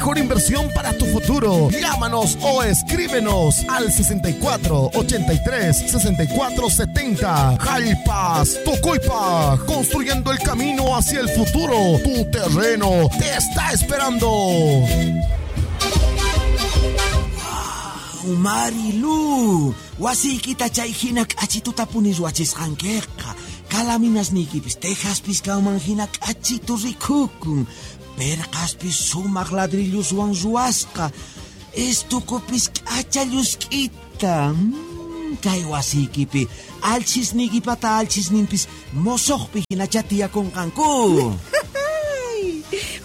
mejor inversión para tu futuro. Llámanos o escríbenos al 64 83 64 70. Jalpas, Tocoipa, construyendo el camino hacia el futuro. Tu terreno te está esperando. Marilu, wasiykita chay hina k'achituta puni ruwachisqankiqa. Kalaminasniykipis tejaspis kanman hina k'achitu rikukun. Perqaspis sumaq ladrilloswan ruwasqa. Estukupis k'acha llusk'ita. Kay wasiykipi alchisniykipata alchisninpis mosoqpi hinacha tiyakunqanku.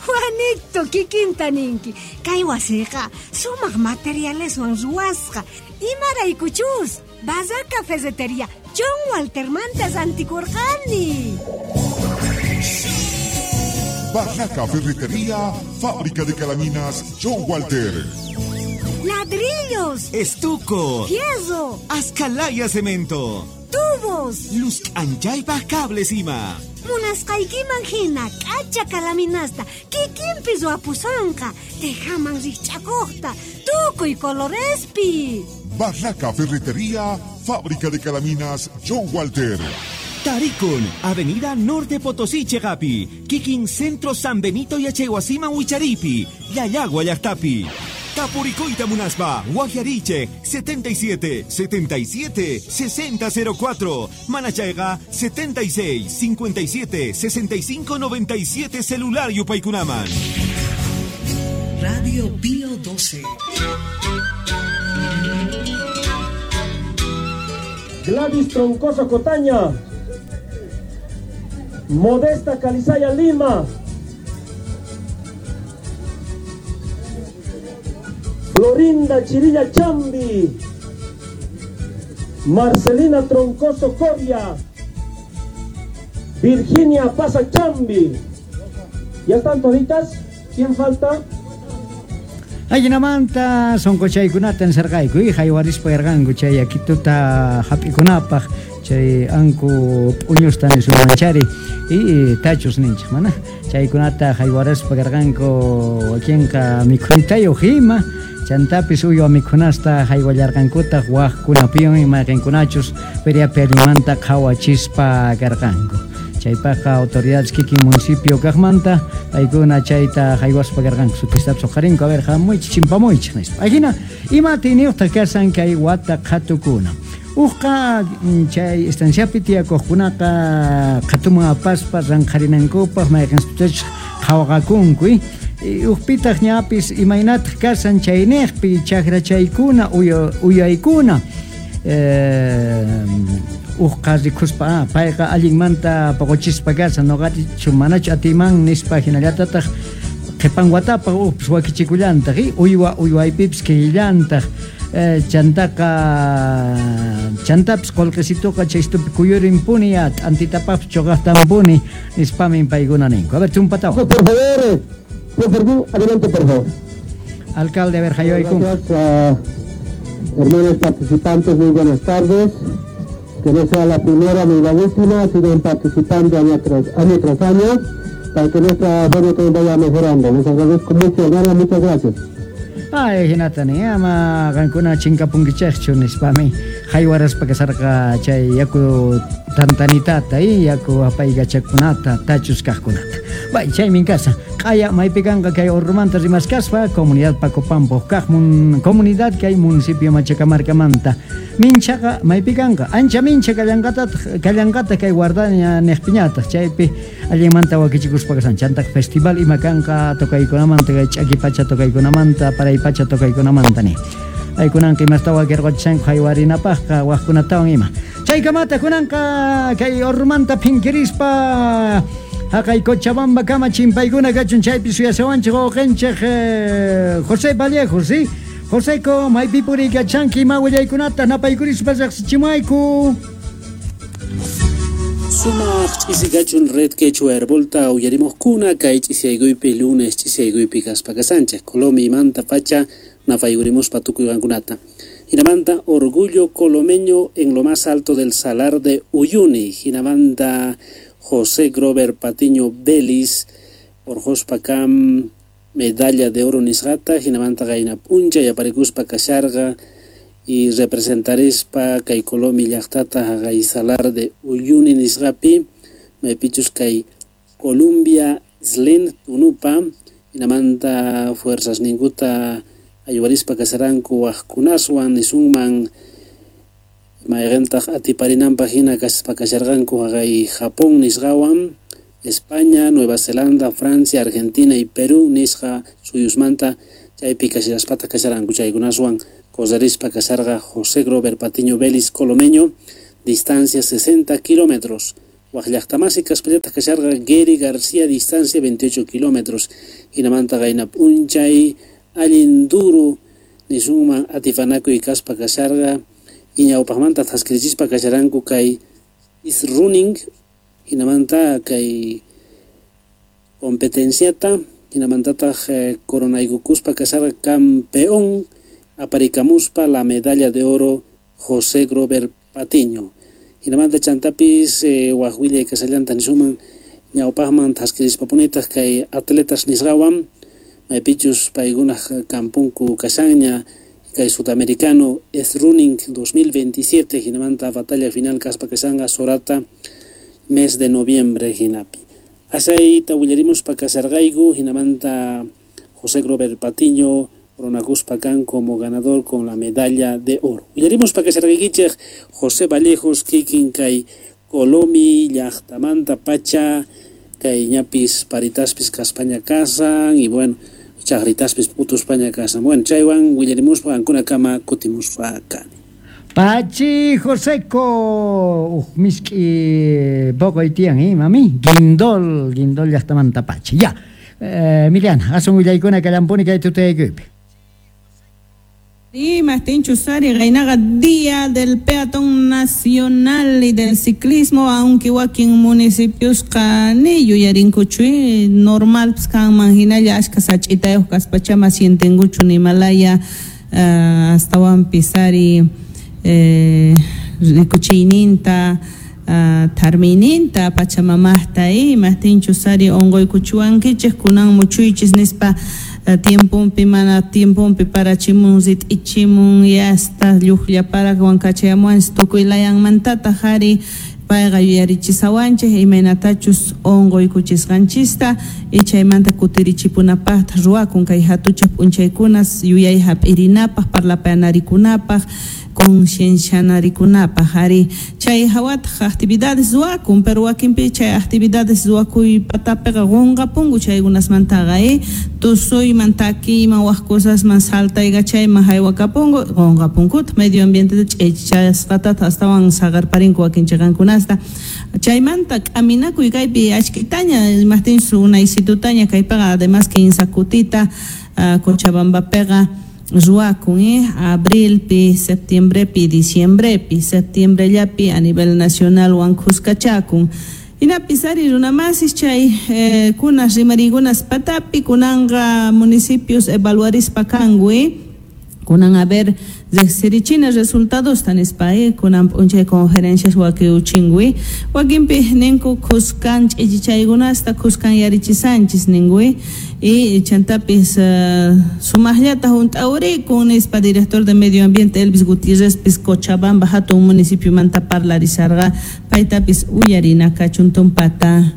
Juanito, kikinta ninki. Kay wasiqa sumaq materialeswan ruwasqa. Imaraykuchus, Barraca Ferretería John Waltermanta rantikurqani. Barraca Ferretería, fábrica de calaminas John Walter. Ladrillos, estuco, fierro, ascalaya cemento, tubos, luz anchaypaj cables ima. Munasqaykiman hina k'acha kalaminasta kikinpi ruwapusanqa, tejaman rikch'akuqta, tukuy colorespi. Barraca Ferretería, fábrica de calaminas John Walter. Tarikun, Avenida Norte Potosí, Chegapi, Kikin Centro San Benito y Achehuasima Huicharipi, Yayagua Yactapi. Tapuricoita Munaspa, Guajariche, 77 77 6004, Manachaiga, 76 57 65 97, celular Yupaycunaman. Radio Pío 12. Gladys Troncoso Cotaña, Modesta Calizaya Lima, Florinda Chirilla Chambi, Marcelina Troncoso Coria, Virginia Paza Chambi. ¿Ya están toditas? ¿Quién falta? Ayinamanta sonqochaykunata ensarqayku y haywarispa yarqanku chay akituta hap'ikunapaq chay anku p'uñusta nisunmanchari y tachus ninchik mana chaykunata haywaraspa karqanku wakinqa mikhuytayuq ima chantapis uywa mikhunasta haywallarqankutaq waqkunapiwan mayqinkunachus feriapi allinmanta qhawachispa karqanku. Chaypaqqa autoridades kikin municipio kaqmanta paykuna chayta haywaspa karqanku sutistapis uqharinku a ver hamuychik chimpamuychik nispa. Ajina ima atiyniyuqtaq kasan kay wata qhatukuna. Uqqa chay estanciapi tiyakuqkunaqa qhatuman apaspa ranqharinankupaq mayqinstutachus qhawaqakunku. Uqpitaq ñapis imaynataq kasan chayniqpi chakrachaykuna uyaykuna uqqa rikuspa payqa allinmanta poqochispa kasan noqachu manachu atiman nispa hinallatataq qhipan watapaq uqpis wakichikullantaq uywa uywaypipis killantaq chantaqa chantapis qullqisituqa chaystupi kuyurinpuni ya t'antitapaqpis chuqaqtanpuni nispamin paykuna ninku. A ver, chumpatawan. Por favor, adelante, por favor. Alcalde, a ver, haywaykunqa. Gracias, hermanos participantes, muy buenas tardes. Que no sea la primera ni la última, sigan participando año tras año, para que nuestra feria también vaya mejorando. Les agradezco mucho, hermano, muchas gracias. Ay, hinatani, ama qankuna chinkapunkichaqchu nispami haywaraspa kasarqa chay yaku tantanitata y yaku apaykachakunata tachus kaqkunata. Bay, chaymin kasa. Q'aya maypi kanqa kay Orrumanta rimaskaspa comunidad Pacopampo kaqmun comunidad kay municipio Machacamarcamanta. Minchaqa maypi kanqa ancha mincha kallanqata kay guardaña niqpiñataq chaypi allinmanta wakichikuspa kasan chantaq festival ima kanqa tocaykunamanta kay ch'aki pacha tocaykunamanta paray pacha tocaykunamanta ni. Aykunanqa imasta wakirqachishanku haywarinapaqqa waqkunatawan ima. Chaykamata kunanqa kay Orrumanta phinkirispa haqay Cochabamba kama chimpaykuna kachun chaypi suyasawanchik wawqinchik José Vallejo, ¿sí? Joseco, maypi puriykachanki ima willaykunata napaykurispa riqsichimayku. Sumaq ch'isikachun Red Quechua Herbolta uyarimuqkuna kay ch'isiyaykuypi lunes ch'isiyaykuypi kaspa kasanchik Colomi imanta pacha napayurimuspa tukuy qankunata. Hinamanta Orgullo Colomeño en lo más alto del Salar de Uyuni. Hinamanta José Grover Patiño Belis, Orjospacam medalla de oro nisqata, hinamanta qayna p'unchay aparikuspa kasharqa y representarispa kay Colomi llaqtata haqay Salar de Uyuni nisqapi, maypichus kay Columbia Slen Tunupa, hinamanta fuerzas ninkuta ayuwarispa kasaranku waqkunaswan nisunman mayqintaq atiparinanpaq hina kaspa kasharqanku haqay Japón nisqawan, España, Nueva Zelanda, Francia, Argentina y Perú nisqa suyusmanta chaypi kashaspata kasharanku chaykunaswan correrispa kasharqa José Grover Patiño Vélez Colomeño, distancia 60 kilómetros. Waq llaqtamasi kaspallataq kasharqa Gary García, distancia 28 kilómetros. Hinamanta qayna p'unchay allin duro nisunman atipanakuy kaspa kasharqa y ñawpaqmanta thaskirichispa kasharanku kay is running, hinamanta kay competenciata, hinamantataq coronaykukuspa kasharqa campeón aparikamuspa la medalla de oro José Grover Patiño. Hinamanta chantapis waq willay kasallanta nisuman ñawpaqman thaskirispapunitaq kay atletas nisqawan maypichus paykunaq kampunku kashanña kay sudamericano es running 2027, hinamanta batalla final kaspa kashanqa Sorata mes de noviembre hinapi. Asayta willarimuspa kasarqayku, hinamanta José Grover Patiño coronakuspa kan como ganador con la medalla de oro. Willarimuspa kasarqaykichej José Vallejos kikin kay Colomi llaqtamanta pacha kay ñapis paritaspis kaspaña kasan y bueno chaqritaspis p'utuspaña kasan. Bueno, chaywan willarimuspa qankunakama kutimuspa kani. Pachi Joseco, miski poco tiyan, mami, guindol llaqtamanta pachi. Ya, Emiliana, asun willaykuna kallampuni kay tutayaykupi. Sí, Martín Chusari, Reinaga, Día del Peatón Nacional y del Ciclismo, aunque wakin municipios ni yuyarinkuchu, normal pues kan hinalla ashka sach'itayuq kaspachama sientenkuchu nimalaya astawan pisari rikuchiyninta tharmiyninta pachamamaqta Martín Chusari unquykuchuwankichik kunan muchuychis nispa tiempompi mana tiempompi parachimun rit'ichimun yasta lluqllaparawan kachayamuwanchis tukuy layanmantataq ari payqa yuyarichisawanchik imaynatachus unquykuchisqanchista y chaymanta kutirichipunapaqtaq ruwakun kay hatuchaq p'unchaykunas yuyay hap'irinapaq parlapayanarikunapaq conciencianarikunapaq ari chay hawataq actividades ruwakun pero wakinpi chay actividades ruwakuy patapiqa qunqapunku chaykunasmantaqa tusuyman takiyman wak cosasman saltaykachayman haywakapunku qunqapunkutaq medio ambienteta ch'ichichasqatata astawan saqarparinku wakin chiqankunasta chaymanta k'aminakuy kaypi achkitaña imaqtinchus unaysitutaña kaypiqa además kinsa kutita Cochabambapiqa ruwakun abrilpi, septiembrepi, diciembrepi, septiembrellapi a nivel nacional wan khuskachakun. Hinapis ari runamasis chay kunas rimarikunas patapi kunanqa municipios evaluarispa kanku kunan a ver riqsirichina resultados tanispa kunan p'unchay conferencias wakiuchinkui wakinpi ninku khuskan ch'ichichaykunasta khuskan yarichisanchis ninkui y chantapis sumaqllata hunt'awrikun nispa director de medio ambiente Elvis Gutiérrez pis Cochabamba hatun municipiomanta parlarisarqa paytapis uyarina kachun tumpata.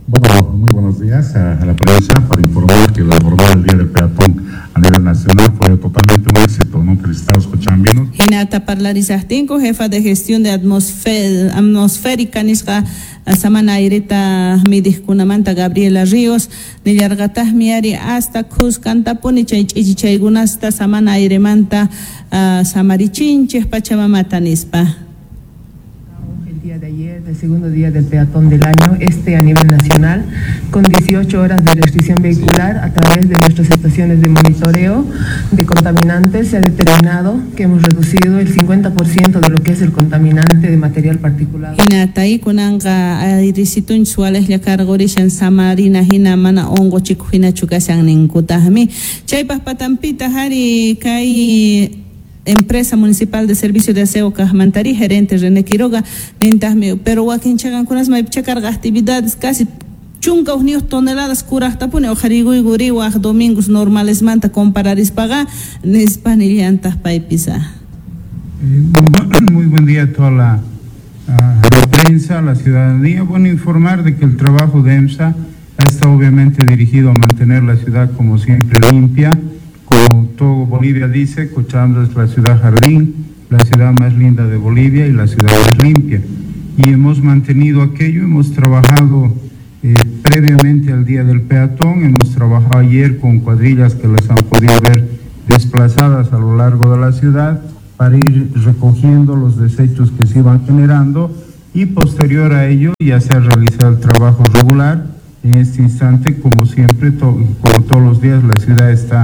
Bueno, muy buenos días a la prensa para informar que la jornada del Día del Peatón a nivel nacional fue totalmente un éxito, ¿no? Felicitar a los cochabambinos. Hinata parlarisaqtinku, jefa de gestión de atmosférica nisqa samana aireta midiqkunamanta Gabriela Ríos nillarqataqmi ari hasta khuskantapuni chay ch'ichichaykunasta samana airemanta samarichinchik pachamamata nispa. Día de ayer, del segundo día del peatón del año, a nivel nacional, con 18 horas de restricción vehicular a través de nuestras estaciones de monitoreo de contaminantes, se ha determinado que hemos reducido el 50% de lo que es el contaminante de material particulado. Hinatay kunanqa ayrisitun sualejlla karqurishan samarina hina mana unquchikuq hinachu kashan ninkutaqmi. Chaypaq patampita hari kay Empresa Municipal de Servicio de Aseo Cajmantari, gerente René Quiroga, nintaqmi, pero wakin chaqankunas maypicha karqa actividades casi 11 toneladas kurajtapuni uqharikuyku riwaj domingos normalesmanta compararispaqa nispa nillantaq paypis. Muy buen día a toda la prensa, a la ciudadanía. Bueno, informar de que el trabajo de EMSA ha estado obviamente dirigido a mantener la ciudad como siempre limpia. Como todo Bolivia dice, Cochabamba es la ciudad jardín, la ciudad más linda de Bolivia y la ciudad más limpia. Y hemos mantenido aquello, hemos trabajado previamente al Día del Peatón, hemos trabajado ayer con cuadrillas que las han podido ver desplazadas a lo largo de la ciudad para ir recogiendo los desechos que se iban generando, y posterior a ello ya se ha realizado el trabajo regular. En este instante, como siempre, como todos los días, la ciudad está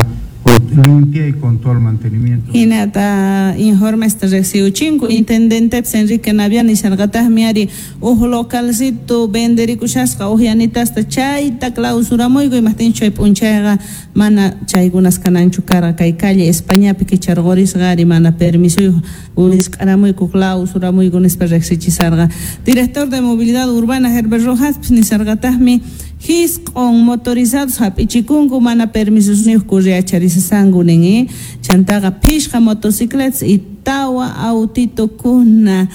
limpia y con todo el mantenimiento. Hinata informesta riqsiuchinku intendentepis Enrique Naviani nisharqataqmi ari uj localcito venderikushasqa uj yanitasta chayta clausuramuyku imajtinchu chay p'unchayqa mana chaykunas kananchu karqa kay calle Españapi kicharqurisqa ari mana permisoyuq wisq'aramuyku clausuramuyku nispa riqsichisarqa. Director de Movilidad Urbana Herbert Rojaspis nisharqataqmi hisq'on motorizados hap'ichikunku mana permisosniyuq kurriacharisasanku nin chantaqa phishqa motocicletas y tawa autitokuna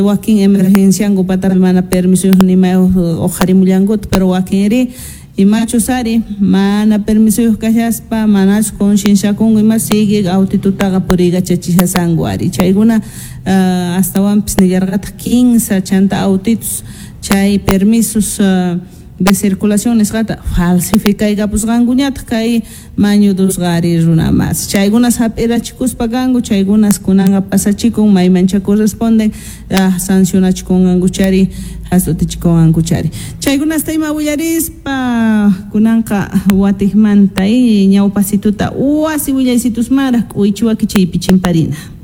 wakin emergencianku patapi mana permisoyuq nimayuq uqharimullankuta, pero wakinri imachus ari mana permisoyuq kashaspa manachu concienciakunku ima sigue autitutaqa puriykachachishasanku ari chaykuna astawanpis nillarqataq 15 chanta autitos chay permisos de circulación nisqata falsificaykapusqankuñataq kay mañudusqa ari runa mas chaykunas hap'irachikuspa kanku chaykunas kunanqa pasachikun maymancha corresponden sancionachikunqanku chari hasutichikunqanku chari chaykunasta ima willarispa kunanqa watiqmanta ñawpasituta wasi willaysitusmaraq k'uychiwakichiypi chimparina.